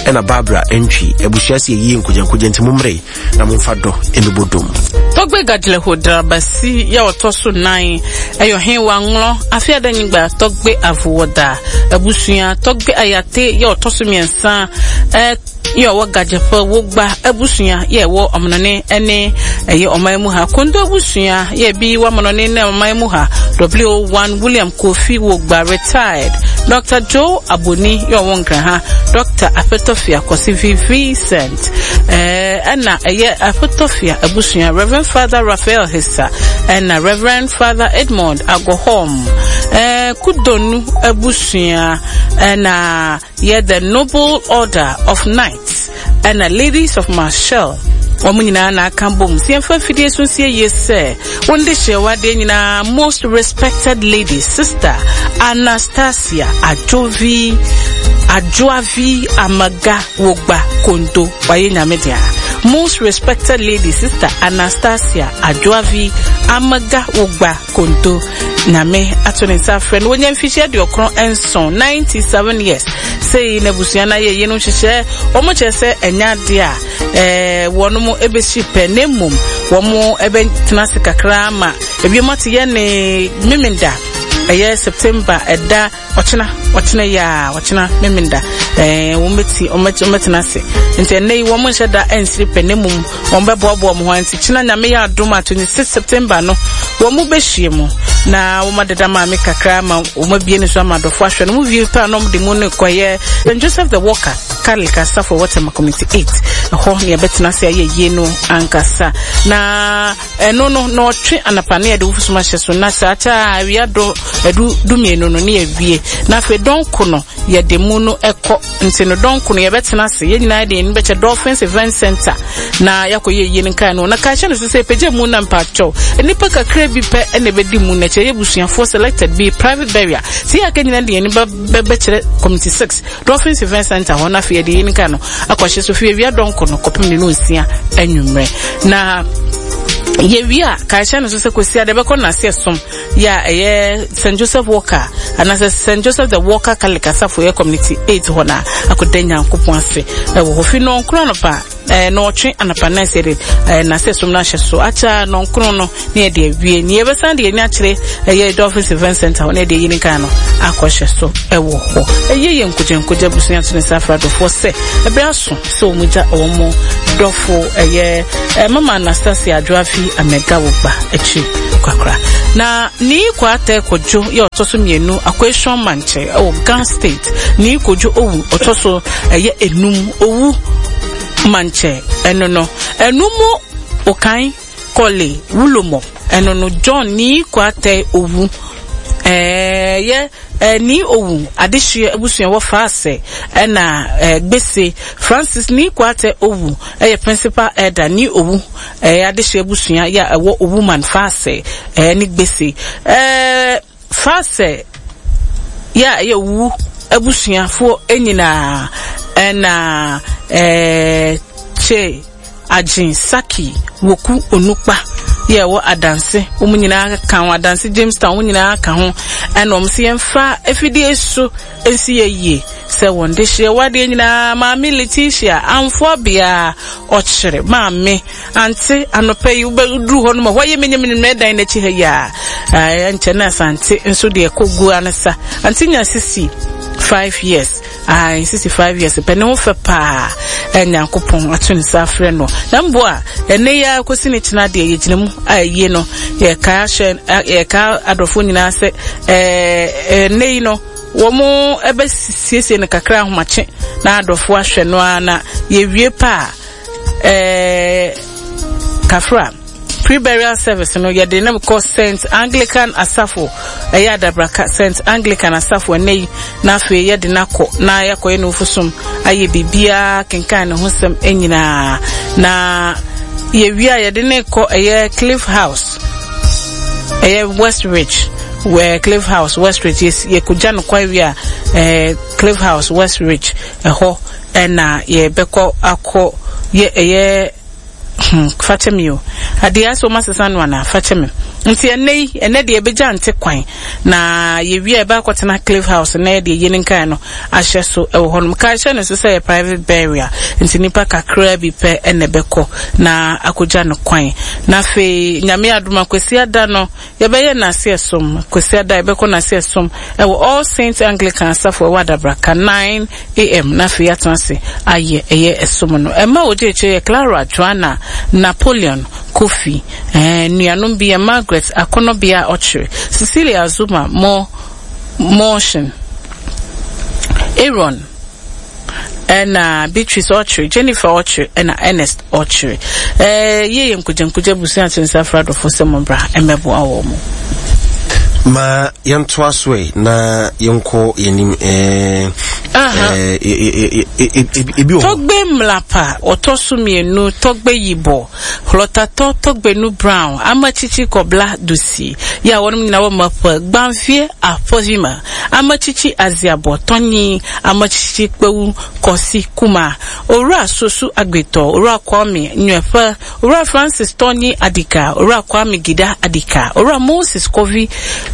ɛna Barbara Antwi. Abusua si yie nkogyankogya nti mommere na momfa dɔ mmɛbɔ dom. Tɔgbe Gadleho Drabasi yɛ ɔtɔ so nan ɛyɛ ɔhen wa ŋlɔ afe adanyigba Tɔgbe Avuwɔda abusua Tɔgbe Ayate yɛ ɔtɔ so mmiɛnsa ɛ yɛ ɔwɔ Gadjeƒe Wogba abusua yɛ ɛwɔ ɔmanɔne ɛne ɛyɛ ɔman mu ha Kondo abusua yɛ bi wɔ amanɔne ne ɔman mu ha W1 William Kofi Wogba retired Dr. Joe Aboni yɛ ɔwɔ Nkran ha Dr. Apetofia Kwasi V Vincent ɛna ɛyɛ Apetofia abusua Reverend Father Raphael Hissa ɛna Reverend Father Edmond Agohom Kudonu abusua ɛna yɛ The Noble Order of Knights ɛna Ladies of Marshall wɔn nyinaa na aka bom sɛ yɛmfa afidie so nsie yie sɛ wɔn de hyɛ wadeɛ nyinaa most respected lady sister Anastasia Adjovi Adjoavi Amaga Wogba Kondo wayɛ nyame dea most respected lady sister Anastasia Adjoavi Amaga Wogba Konto Nyame ato ne nsa afrɛ no wɔnya mfihyia 97, 97 years sei na abusua no ayɛ yeinom nhyehyɛ wɔn kyerɛ sɛ ɛnyɛ adeɛ a ɛɛ wɔn mo ɛbɛsi pɛ na mmom wɔn ɛbɛtena ase kakra ma ewiem ate yɛ ne memenda ɛyɛ September ɛda Ɔkyena, ɔkyena yi a, ɔkyena Memenda, ɛɛ wɔn bɛti, wɔn bɛtena ase. Nti ɛnɛ yi wɔn nhyɛ da nsiri pɛ, na mmom wɔn bɛboaboa wɔn ho. Nti kyena Nyame yɛ adom a 26 September no, wɔn bɛhyia mu na wɔn adeda maame kakra ma wɔn abie ne so ama adɔfo ahwɛ no. Wɔn wie pɛ a na wɔn de mu no kɔyɛ St. Joseph the Worker Catholic Asafo wɔ Tema Community 8. Ɛhɔ na yɛbɛtena ase ayɛ yie no ankasa. Na Ɛno no, na ɔtwe anapa na yɛde wofusum ahyɛ so, na saa kyɛ a awia do ɛdu dumienu no ne yɛwie. Na afei dɔnko no yɛde mu no ɛkɔ nti no dɔnko no yɛbɛtena ase yɛn nyinaa de yɛn ani bɛkyɛ Dolphins Event Center na yɛakɔ yɛ yie no nkae no. Na ka hyɛ no so sɛ pagya mu na mpakyɛw nnipa kakra bi pɛ ɛna ɛbɛdi mu na kyerɛ yɛ busuafoɔ selected bi private burial sɛ yɛ aka nyinaa de yɛn ani bɛkyerɛ Committee 6 Dolphins Event Center hɔ na afei yɛde yɛn nkae no akɔhyɛ so fi awia dɔnko no kɔpem ne no nsia anwummerɛ na yɛwie a kaehyɛ no so sɛ kɔsi ade bɛkɔ nase ɛsom yɛ a ɛyɛ St Joseph Walker Anaasɛ St. Joseph the Walker Catholic Asafo yɛ Community 8 hɔ na akɔda Nyankopɔn ase ɛwɔ hɔ. Fi nɔnkron anɔpa ɛɛ nɔɔtwe anɔpa na ɛsɛ de ɛɛ n'ase som no ahyɛ so akyɛ nɔnkron no ne yɛde awie. Ne yɛbɛsan de yɛn akyerɛ ɛyɛ Dolphins Event Center hɔ na yɛde ayi ne kan no akɔhyɛ so ɛwɔ hɔ. Ɛyɛ yɛ nkogya nkogya abusua to ne nsa afra adɔfoɔ sɛ ɛbɛrɛ aso sɛ wɔn gya wɔn dɔfo ɛyɛ eh, mama Anastasia Adwoafi Amegawogba akyi kakra. Na Nii Kwatɛ Kodwo yɛ ɔtɔ so mmienu Akweshon Mankyɛ ɛwɔ Ga State. Nii Kodwo Owu ɔtɔ so ɛyɛ enum Owu Mankyɛ ɛno no ɛno mu Okan Kɔle Wulomɔ ɛno no John Nii Kwatɛ Owu ɛyɛ Nii Owu adehyeɛ abusua wɔ Faase ɛna Gbese Francis Nii Kwatɛ Owu ɛyɛ Principal Elder Nii Owu ɛyɛ adehyeɛ abusua yɛ a ɛwɔ Owuman Faase ɛne Gbese ɛɛ Faase yɛ a ɛyɛ Owu abusuafoɔ nyinaa ɛna ɛɛ Che Agyen Saki Woku Onukpa yɛ ɛwɔ Adanse wɔn nyinaa ka ho Adanse Jamestown wɔn nyinaa ka ho ɛna wɔn sɛ yɛmfa afidie so nsi yɛ yie sɛ wɔn de hyeɛ wadeɛ nyinaa Maame Letitia Amfoa bea ɔkyere maame ante anɔpa yi wobɛduru hɔ no ma hɔ yɛ menyɛ dan n'akyi ha yi a ɛnkyɛ na asante nso deɛ kɔ gu ano sa ante nya sisi 5 years Ae, 65 years pɛ ne ho fɛ paa. Ɛ Nyankopɔn ato ne nsa afrɛ no. Na mbo a ɛnɛ yi ara kɔsi ne kyena deɛ yɛgyina mu a ɛyie no yɛka ahyɛ yɛka adɔfoɔ nyinaa sɛ ɛɛ ɛnɛ yi no wɔn ɛbɛsiesie no kakra ahomakye na adɔfoɔ ahwɛ no ara na yɛwie pa a ɛɛ kafra. Pre-burial service no yɛde no kɔ St. Anglican Asafo, ɛyɛ Adabraka St. Anglican Asafo ɛnɛ yi, na afei yɛde no akɔ na yɛakɔyɛ no ofusom ayɛ biribiara kenkan ne ho sɛm nyinaa na yɛwie a yɛde no kɔ ɛyɛ Cliff House, ɛyɛ West Ridge, wɔ Cliff House West Ridge yɛkɔgya no kwan wie a ɛɛ Cliff House West Ridge ɛhɔ ɛna yɛbɛkɔ akɔ yɛ ɛyɛ Hmm, fakyɛ me o. Adeɛ asɛ wɔn asesa no anaa? Fakyɛ me. Nti ɛnɛ yi, ɛnɛ deɛ ɛbɛgya nte kwan. Na yɛwie a yɛbɛ akɔtena Cliff House na yɛde yie ne nkae no ahyɛ so ɛwɔ hɔnom. Kae hyɛ no so sɛ yɛ private burial. Nti nipa kakraa bi pɛ ɛna ɛbɛkɔ na akɔgya no kwan. Na afei, Nyame adom a Kwasiada no, Yɛbɛyɛ Nase Ɛsom, Kwasiada yɛbɛkɔ Nase Ɛsom ɛwɔ All Saints Anglican Asafo ɛwɔ Adabraka 9am na afei yɛatena ase ayɛ ɛyɛ ɛsom no. Ɛmma wɔgye akyire yɛ Clara, Joanna, Napoleon, Kofi, ɛɛ nuanom bi yɛ Margaret, Akɔnɔbea Ɔkyere, Cecilia Azuma, Mo, Motion, Aaron, ɛna Beatrice ɔkyere, Jennifer ɔkyere, ɛna Ernest ɔkyere. Ɛɛ yie yɛ nkogyankogya abusua akyere nsa afra adɔfo sɛ mo bra mmɛboa wɔn mo. Ma yɛntoa so ɛ na yɛnkɔ yɛnim ɛɛ ebi wɔ hɔ. Tɔgbe Mlapa ɔtɔ so mmienu, Tɔgbe Yibɔ, Hlɔtatɔ Tɔgbenu Brown, Amakyikyi Kɔbla Dusi, yɛ a wɔnom nyinaa wɔ Mapua, Gbanfie, Apovima. Amakyikyi Aziabɔ, Tɔnyi, Amakyikyi Kpawu, Kɔsi, Kuma, Owura Sosu Agbetɔ, Owura Kwame Nyuɛƒe, Owura Francis Tɔnyi Adika, Owura Kwame Gida Adika, Owura Moses Kovi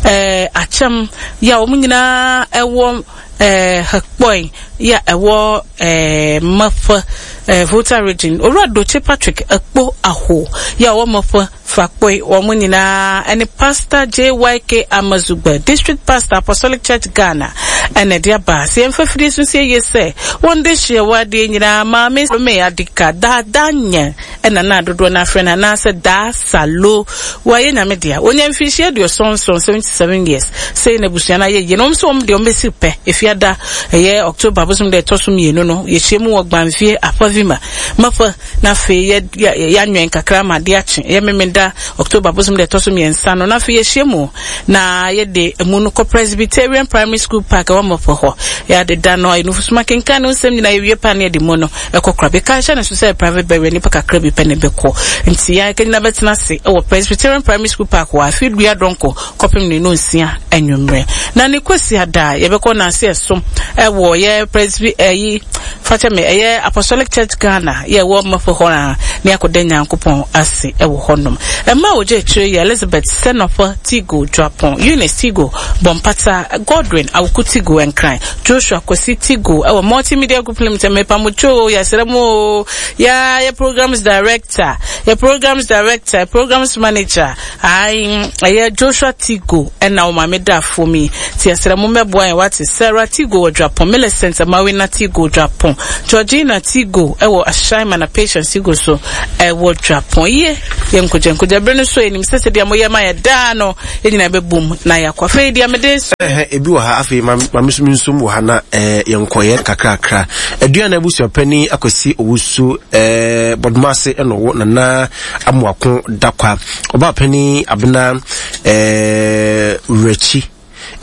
eh, Akyɛm, yɛ a wɔn nyinaa ɛwɔ eh, Hekpɔe, yɛ a ɛwɔ eh, Mɛƒe, eh, Volta Region, Owura Doche Patrick Ekpo Aho, yɛ a ɔwɔ Mɛƒe, Fakpoi, wɔn nyinaa ne Pastor JYK Amazugbe, District Pastor, Apostolic Church Ghana, ɛna ɛde aba. Sɛ yɛmfa fidie so nsie yie sɛ, wɔn de hyeɛ wɔ adeɛ nyinaa, Maame Salome Adika, Daadaa Nyɛ, ɛna na dodoɔ no afrɛ no, anaasɛ Daa Salo. Wɔayɛ Nyame dea. Wɔnya mfirihyia aduɔsɔn nson, 77 years. Sei na abusua no ayɛ yie. Na wɔn nso wɔn deɛ wɔn bɛsi pɛ, Efiada, ɛyɛ October bosom da ɛtɔ so mmienu no, yɛhyia mu wɔ Gbanfie, Apavima, Mapa, Na afei yɛ, yɛ, yɛanwɛn kakra ma ade akye. Ɛyɛ Memenda, October bosom da ɛtɔ so mmiɛnsa no. Na afei yɛahyia mu na yɛde amu no kɔ Presbyterian Primary School Park. ɛwɔ Mɔpɔ hɔ. Yɛ adeda no, nufusuma kenkan ne nsɛm nyinaa yɛwie pa ne yɛde mu no ɛkɔ kora. Bɛka hyɛ ne so sɛ private burial nipa kakra bi pɛ ne bɛkɔ. Nti yɛn akanyina bɛtena ase ɛwɔ Presbyterian Primary School Park wɔ afe dua dɔnkɔ kɔpem ne nonsia anwummerɛ. Na ne Kwasiada yɛbɛkɔ nanse ɛsom ɛwɔ yɛ Presby ɛyi fakyɛ me ɛyɛ Apostolic Church Ghana yɛ ɛwɔ Mɔpɔ hɔ a ne akɔda Nyankopɔn ase ɛwɔ hɔnom. Ɛma a wɔgye akyire yɛ Elizabeth Sɛnɔfɔ Tigo Dwapɔn, Eunice Tigo Bɔmpata, Godwin Awuku Tigo Nkran, Joshua Kwasi Tigo ɛwɔ Multimedia Group Limited. Mepa mo kyɛw o, yɛsrɛ mo o. Yɛ yɛ programs director, yɛ programs director, yɛ programs manager. Ae, ɛyɛ Joshua Tigo ɛna wo maame da fam yi. Ti yɛsrɛ mo mmɛboa yɛn wate. Sarah Tigo wɔ Dwapɔn, Millicent Amawena Tigo Dwapɔn, Georgina Tigo ɛwɔ Ashaiman na Patience Tigo so ɛwɔ Dwapɔn. Yie, yɛ nkogya nkogya bere no so yɛnim sɛ sɛdeɛ moyɛ ma yɛ daa no yɛn nyinaa bɛbom na yɛakɔ. Afei deɛ mede so. Ɛhɛ, ebi wɔ ha afei ma ma me so me nsom wɔ ha na ɛɛ yɛnkɔyɛ kakrakra. Aduana abusuapanin Akwasi Owusu ɛɛ Bɔdomase ɛna ɔwɔ Nana Amoako Dakwa. Ɔbaa panin Abena ɛɛ Wurakyi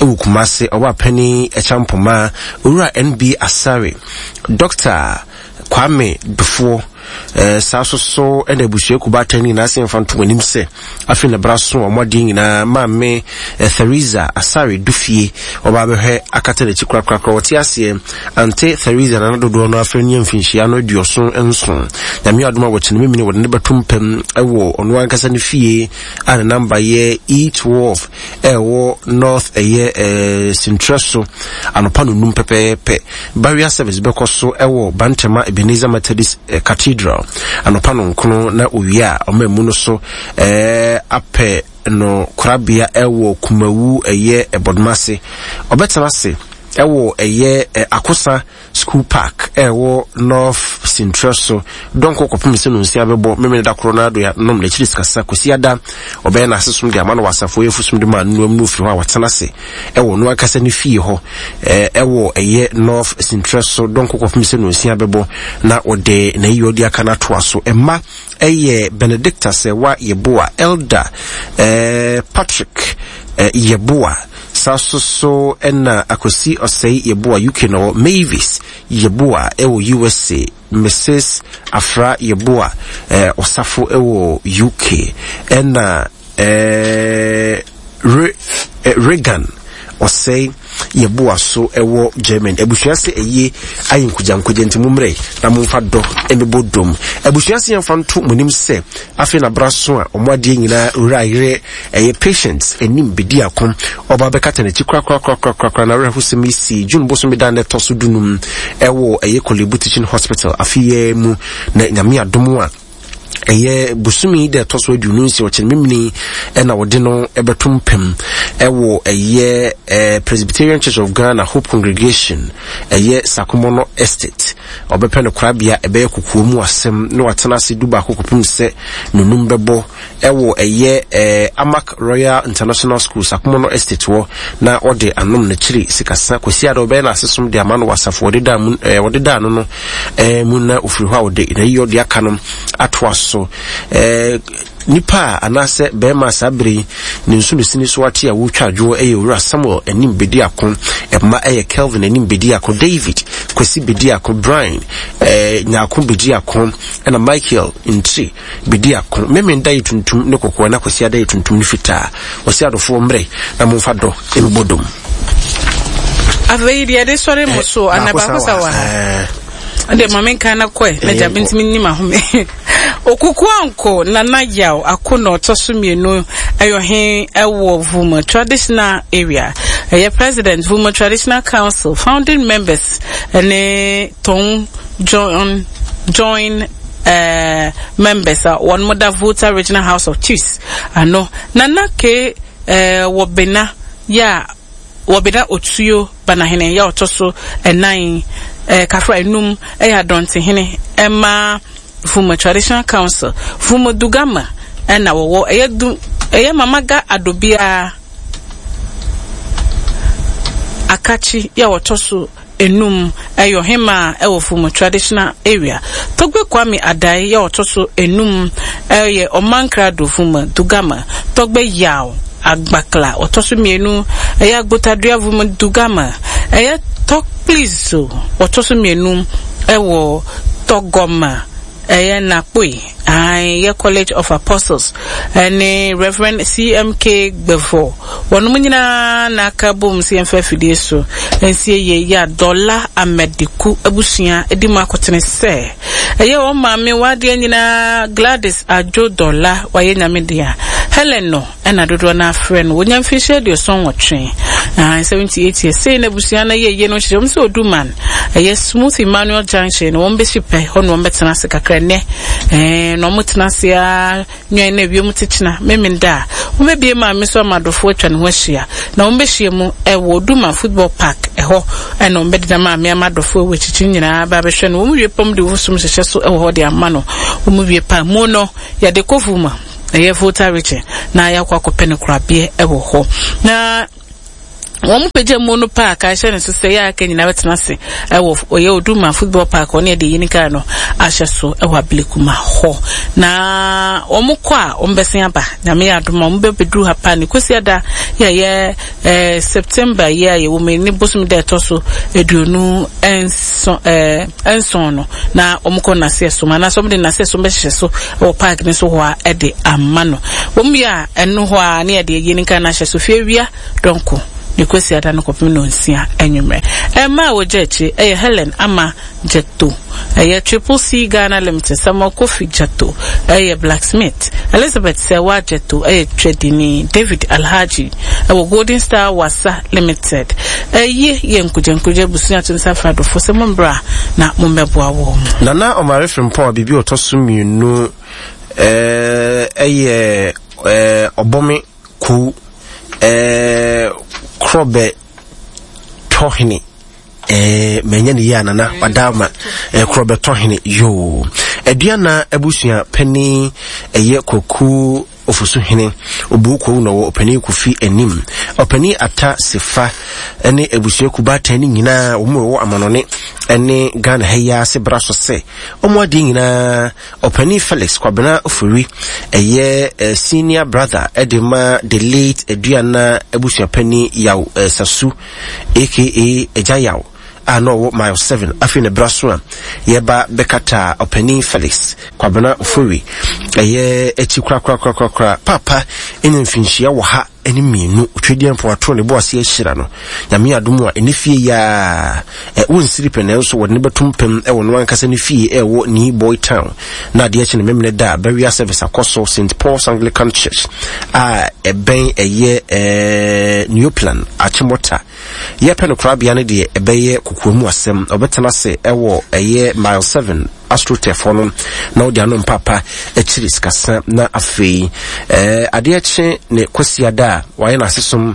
ɛwɔ Kumase. Ɔbaa panin Ɛkyampoma Owura NB Asare Dɔkta Kwame Dufoɔ. Eh, saa so so ɛna abusua kubaatan nyinaa sɛ mfa nto anim sɛ afei na bra so wɔn adeɛ nyinaa maame eh, Theresa Asare Dufie ɔbaa bɛhwɛ akata n'akyi korakorakora wɔte aseɛ ante Theresa nana dodoɔ no afei ne mfinhyia no 77. Nyame adom a wɔkyene memene wɔde ne bɛto mpam ɛwɔ ɔno ankasa ne fie a ne namba yɛ E12 ɛwɔ North ɛyɛ eh, Sintrɛ so anɔpa no num pɛpɛɛpɛ. Burial service bɛkɔ so ɛwɔ Bantama Ebenezer Methodist eh, Cathedral anɔpa no nkono na owie a ɔma mu no so eh, apɛ no korabea ɛwɔ Kumawu ɛyɛ Ɛbɔdomase. Ɔbɛtena ase ɛwɔ ɛyɛ eh, Akosa School Park a ɛwɔ North Sintrɛ so dɔnkɔ kɔpem sɛ nonsia bɛbɔ Memeneda koro no adoa nom n'akyiri sikasa Kwasiada ɔbɛyɛ n'asesom de ama no wɔ asafo yɛfosom de ma noam no ofiri hɔ a watena ase ɛwɔ no ankasa ne fie hɔ ɛwɔ ɛyɛ North Sintrɛ so dɔnkɔ kɔpem sɛ nonsia bɛbɔ na ɔde n'ayi ɔde aka no atoa so ɛma ɛyɛ Benedicta Sɛwa Yeboah Elder eh, Patrick eh, Yeboah Saa so so na Akwasi Osei Yeboah UK na ɔwɔ, Mavis Yeboah wɔ USA, Mrs Afra Yeboah Osafo wɔ UK, ɛna Re Regan Osei Yeboah so wɔ Germany. Abusua se ayie ayɛ nkogyankogya nti mommrɛ na momfa dɔ mmɛbɔ dom. Abusua se yɛmfa nto mo anim sɛ afei na bra so a wɔn adeɛ nyinaa wura yerɛ Ɛyɛ Patience anim bedi ako. Ɔba bɛkata n'akyi korakorakorakorakora. N'awerɛhosɛm yi sii June bosome da a na ɛtɔ so dunum wɔ ɛyɛ Korle-Bu Teaching Hospital afe yi ara mu. Na Nyame adom a, ɛyɛ bosome yi da ɛtɔ so 26 ɔkyena memene ɛna wɔde no ɛbɛto mpam ɛwɔ ɛyɛ eh, Presbyterian Church of Ghana Hope Congregation ɛyɛ Sakomono Estate. Ɔbɛpɛ no korabea ɛbɛyɛ kokoa mu asɛm na watena ase dubaako kɔpem sɛ nonum bɛbɔ ɛwɔ ɛyɛ eh, Amak Royal International School, Sakomono Estate hɔ, na ɔde anom n'akyiri sikasa Kwasiada ɔbɛyɛ n'asesom de ama no wɔ asafo wɔde daa mu eh, wɔde daa no no eh, mu na ofiri hɔ a ɔde n'ayi ɔde aka no atoa so eh, nipa a anaasɛ bɛrima saa bere yi ne nsunosini so ate a wotwa adwoɔ ɛyɛ owura Samuel anim bedi ako ɛma ɛyɛ Kelvin anim bedi ako David Kwasi bedi ako Brian eh, Nyako bedi ako ɛna Michael Ntiri Bedi ako. Memen da yɛ tuntum ne kɔkɔɔ na Kwasiada yɛ tuntum ne fitaa. Ɔse adɔfoɔ mmerɛ na momfa dɔ mmɛbɔ dom. Afei deɛ yɛde sɔre mo so ana baako sa wɔ ha. Ɛdeɛ ma menka na kɔɛ na gya mentumi nni m'ahome. Okuku anko Nana Yaw ako na ɔtɔ so mmienu ɛyɛ ɔhen ɛwɔ Vuma traditional area. Ɛyɛ president Vuma traditional council founding members ɛne Tong John join eh, members a wɔn da Volta Regional House of Chiefs ano. Nana K eh, wɔ Bena yɛ a wɔ Bena Otuo Banahene yɛ a ɔtɔ so ɛnan eh, Kafra enum ɛyɛ Adɔntehene ɛma Vuma Traditional Council. Vuma Dugama ɛna wɔwɔ ɛyɛ du ɛyɛ Mamaga Adobia Akakyi yɛ a ɔtɔ so enum yɛ ɔhemaa wɔ Fumu Traditional Area. Togbe Kwame Adai yɛ ɔtɔ so enum yɛ Ɔmankrado Vuma Dugama. Togbe Yaw Agbakla ɔtɔ so mmienu yɛ Agbotadua Vuma Dugama. Ɛyɛ Tokpli so wɔtɔ so mmienu wɔ Tɔgɔma, ɛyɛ Nakpoi, aane, yɛ College of Apostles ne Rev. CMK Gbevor. Wɔnom nyinaa na aka abom sɛ yɛmfa afidie so nsie yei yɛ a Dɔla Amadiku abusua di mu akotene sɛ ɛyɛ wɔn maame w'adeɛ nyinaa Gladys Adwo Dɔla wayɛ Nyame dea Helen no na dodoɔ no ara frɛ no. Wɔnya mfirihyia 78, ahan, 78 years. Sei na abusua no yɛ yie no hyehyɛ wɔn sɛ Oduman, ɛyɛ Smooth Emmanuel Junction na wɔn bɛsi pɛ, hɔ na wɔn bɛtena ase kakra nnɛ. Ɛɛ, na wɔn tena ase ara nwɛn na ewiem te kyena, Memenda a, wɔn bɛbie maame so ama adɔfoɔ atwa ne ho ahyia. Na wɔn bɛhyia mu ɛwɔ Oduman Football Park, ɛhɔ ɛna wɔn bɛdeda maame ama adɔfoɔ ɛwɔ akyirikyiri nyinaa ba abɛhwɛ no. Wɔn wie pɛ wɔn de wɔn som hyehyɛ so ɛwɔ hɔ de ama no. Wɔn wie pɛ a, mu no, yɛde kɔ Vuma. Ɛyɛ Volta Region na yɛakɔ akɔpɛ no korabeɛ wɔ hɔ. Na wɔn pagya mu no park a ɛhyɛ ne so sɛ yɛ aka nyinaa bɛtena ase ɛwɔ ɔyɛ Oduma football park ɔne ɛde yini kaa no ahyɛ so ɛwɔ Ablekuma hɔ. Na wɔn kɔ a wɔn bɛsen aba Nyame yɛ adom a wɔn bɛbɛduru ha paa ne Kwasiada yɛ yɛ Eh, September yi a yɛwɔ mu yi ne bosom da ɛtɔ so 27 eh, no na wɔkɔ naseɛ som anaasɛ wɔde naseɛ som bɛhyehyɛ so wɔ park no so hɔ a ɛde ama no. Wɔn wie a ɛno hɔ a ne yɛde ayie no nka no ahyɛ so fie awia dɔnko ne kwasi ada no kɔpem nonsia anwummerɛ. Ɛmma a wɔgya akyire ɛyɛ Helen Ama Gyatto, ɛyɛ Triple C Ghana Limited, Samuel Kofi Gyatto, ɛyɛ blacksmith, Elizabeth Serwaa Gyatto, ɛyɛ twadini, David Alhaji, ɛwɔ Golden Star Wasa Limited. Ɛyi yɛ nkogyankogya abusua to nsa frɛ adɔfoɔ sɛ mommra na mommɛboa wɔn. Nana Omare Frimpong a biribi a ɔtɔ so mmienu ɛyɛ Ɔbɔme Kuw Korɔbɛ Tɔhene. Eh, manya ne yie a nana wada ma eh, korɔ bɛtɔ hene yoo. Aduana abusua panin ɛyɛ Kwaku Ofosu hene Obuo Kwawu na ɔwɔ ɔpanin Kofi anim. Ɔpanin Ata Sefa ne abusua kubaatan ne nyinaa wɔn wɔ amanɔne ne Ghana ha yi ase bra so sɛ wɔn adeɛ nyinaa Ɔpanin Felix Kwabena Ofori ɛyɛ eh, senior brother ɛde ma the late Aduana abusuapanin Yaw eh, Sasu aka Agya Yaw a na ɔwɔ Mile 7. Afei na bra so a yɛba bɛkata Ɔpanin Felix Kwabena Ofori ɛyɛ akyi korakorakorakora. Paapa anya mfinhyia wɔ ha ne mmienu. Otwedeɛ mpo ato ne bo ase ahyira no. Nyame adom a ɛne fie yi ara ɛ, wonsiri pɛ nanso wɔde no bɛto mpam wɔ no ankasa ne fie ɛwɔ Nii Boy Town. Na adeɛ akyi no Memene da a burial service akɔ so St. Paul's Anglican Church a ɛbɛn ɛyɛ ɛɛ Neoplan Achimota. Yɛpɛ no korabea no deɛ ɛbɛyɛ kokoa mu asɛm. Ɔbɛtena ase ɛwɔ ɛyɛ Mile 7 Astroturf hɔ no na ɔde ano mpaapa akyiri sikasa na afei ɛɛ adeɛ kye ne Kwasiada a wayɛ n'asesom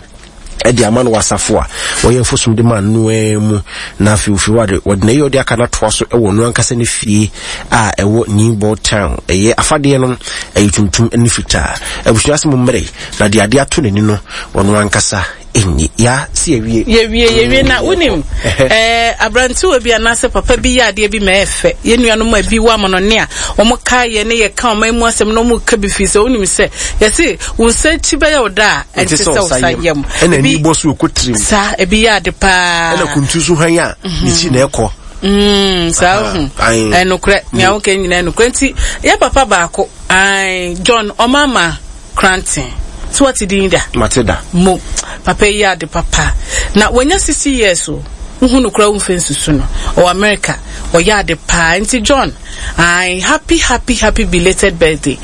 de ama no wɔ asafo a wɔyɛ mfosom de ma noa mu na afei ofiri hɔ ade wɔde n'ayi ɔde aka no atoa so wɔ no ankasa ne fie a ɛwɔ New Board Town. Ɛyɛ afadeɛ no ɛyɛ tuntum ne fitaa. Abusua ase mu mmere na de adeɛ ato n'ani no ɔno ankasa ɛnni ya si awie. Yɛwie yɛwie na wonim ɛɛ aberantewa bi anaasɛ papa bi yɛ adeɛ bi ma ɛyɛ fɛ. Yɛn nuanom a bi wɔ amanɔne a wɔn ka yɛ ne yɛ ka wɔn mu asɛm na wɔn ka bi fi sɛ wonim sɛ yɛse Wo nsa akyi bɛyɛ wo da a, ɛnte sɛ wo nsa yam. Ɛna ani bɔ so ɛkɔ tirim. Saa, ebi yɛ ade paa. Ɛna kuntu so hwan a, ne ti na ɛkɔ. Mm, saa ohu. Ɛnokorɛ, nea woka nyinaa ɛnokorɛ. Nti, yɛ papa baako, ae, John Ɔmama Kranten. So wate din da? Mate da. Mo, papa yi yɛ ade papa. Na wanya 60 years o. Wohu no koraa womfa nsusu no. Ɔwɔ America. Ɔyɛ ade paa. Nti John, Ae happy happy happy belated birthday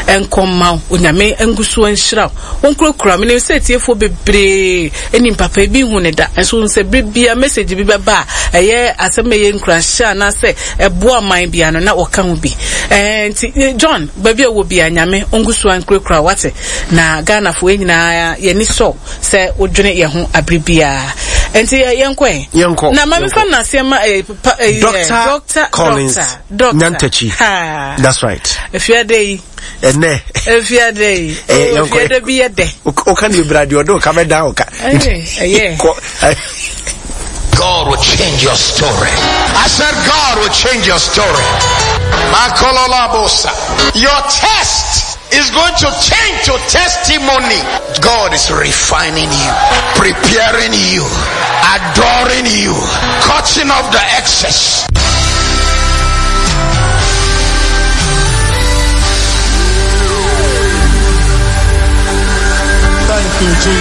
nkɔ mma wo Onyame ngu so nhyira wo onkurakura wo menim sɛ atiefoɔ bebree nim papa ebi nhu ne da nso wohu sɛ bere bia message bi bɛba a ɛyɛ asɛm a ɛyɛ nkuranhyɛ anaasɛ ɛboa ɔman bia no na wɔka ho bi ɛɛ nti John baabi a wɔ bia Nyame ongu so nkurakura wo wate na Ghanafoɔ yɛn nyinaa yɛni sɔ sɛ wodwene yɛn ho abere biara nti yɛnkɔ ɛ yɛnkɔ na ma mefa naseɛ ma eh, Pa, eh, Doctor, Doctor Collins Doctor, Nyantakyi. Ha. That's right. Efiade yi. Ɛnɛ. Efiade yi. Eh, oh, efiade bi yɛ dɛ. Oka ni ebira deɛ ɔde ɔka bɛ dan ɔka. Ɛyɛ. God will change your story. I said God will change your story. Your test. Is going to change to testimony. God is refining you, preparing you, adoring you, cutting off the excess. Thank you, Jesus.